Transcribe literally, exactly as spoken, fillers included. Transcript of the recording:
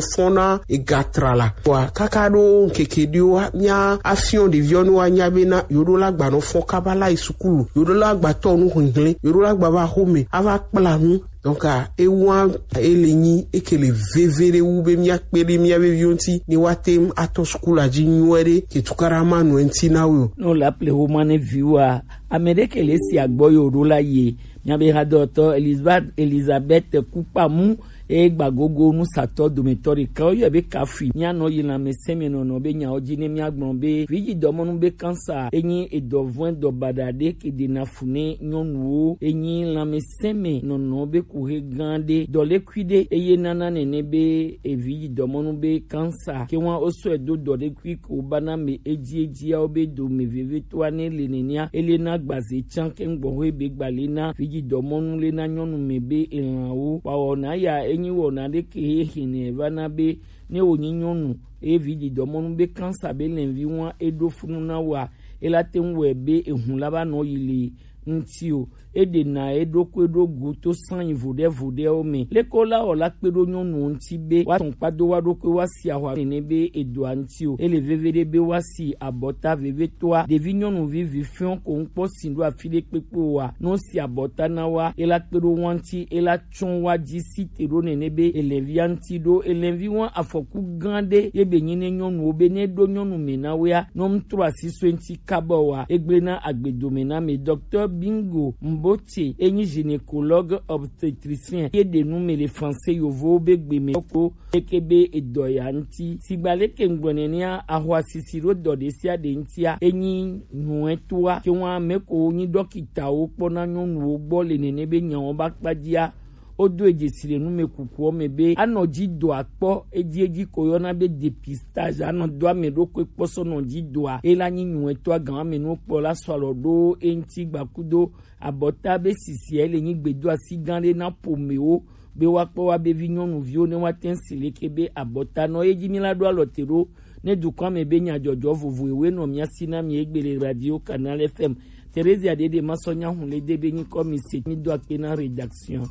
Fɔn na ega tra la. Wa kaka ɖo ŋkeke ɖewo wa mía afiɔn ɖeviwo ne woanya bena yewo ɖo la gba nɔ fɔn kaba la yi sukulu, yewo ɖo la gba tɔ nu hlinhlin, yewo ɖo la gba va xome ava kpla nu. Donc, ah, ewa ele nyi eke le veve ɖe wu be míakpe ɖe mía veviwo ŋuti ne woate ŋu atɔ sukulu la dzi nyuie ɖe ke tukaɖa ma nɔ eŋuti na wo. Ne wole aple xoma ne viwoa, ame ɖe ke le si agbɔ yewo ɖo la yi. Míabe hadɔtɔ Elizabeth, Elizabeth Kukpamu, eye gbagogo nusatɔ dometɔ ɖeka woyɔe be Kafui. Míanɔ yi lãmesẽmenɔnɔ be nyawo dzi ne míagblɔ be vidzidɔmɔnu be kansa enyi edɔvɔ̃e dɔ baɖa ɖe ke ɖena fu ne nyɔnuwo. Enyi lãmesẽmenɔnɔ be kuxe gã ɖe, dɔlékui ɖe, eye nana nene be evidzidɔmɔnu be kansa ke wa wosɔe do dɔlékui ke wobana me edziedziawo be dome vevitɔa ne le nenea, ele na gbaze tsã ke ŋgbɔxoe be gbalẽ na vidzidɔmɔnu le na nyɔnu me be elãwo. Wa wɔna ya enyi wɔna ɖe ke he hene va na be ne wònyi nyɔnu eye vidzidɔmɔnu be kansa be lɛnvi wa eɖo funu na wa, ela te ŋu wɔe be ehun la va nɔ yi le ŋuti o. Eɖena eɖokui ɖo go to sanyi voɖevoɖewo me. Leke wola wɔ la kpe ɖo nyɔnuwo ŋuti be woatɔn kpado wa ɖokui woasi ahwa nene be edoa ŋuti o. Ele veve ɖe be woasi abɔta vevitɔa. Ɖevi nyɔnuvi vi fiɔ ko ŋkpɔ si ɖo afi ɖe kpekpe o wa. Ne wosi abɔta na wa, ela kpe ɖo wa ŋuti, ela tsɔ wa dzi si te ɖo nene be elɛvia ŋuti ɖo. Elɛvi wa afɔku gã ɖe ye be nyi ne nyɔnuwo be ne ɖo nyɔnu me na wea, ne wometrɔ asi so eŋuti kaba oa, egblẽ na agbedome na ame. Docteur Bingo Mbote, enyi gynécologue obstétricien, ye ɖe nu me le français yovowo be gbe me ko leke be edɔ ya ŋuti. Sigba leke ŋgblɔ nenea, ahwa sisi ɖo dɔ ɖe sia ɖe ŋutia, enyi nyuietɔa. Ke wa ame ko nyi ɖɔkitawo kpɔna nyɔnuwo gbɔ le nene be nyawo ba kpadzia, wodo edzesi le numekukuwo me be anɔ dzi dɔa kpɔ edziedzi ko yɔna be dépistage, anɔ do ame ɖokui kpɔ sɔ nɔ dzi dɔa, ela nyi nyuietɔa gã ame nuwo kpɔ la sɔ alɔ ɖo eŋuti gbakudo abɔta be sisia ele nyi gbedoasi gã ɖe na ƒomewo be woakpɔ wa be vi nyɔnuviwo ne woate ŋu si leke be abɔta nɔ ye dzi mi la ɖo alɔ te ɖo ne dukɔa me be nyadzɔdzɔ vovo ewoe nɔ mía si na mi egbe le radio Canal F M. Theresia Dede Masɔ Nyahun le de be nyikɔ mi se mi do akpe na rédaction.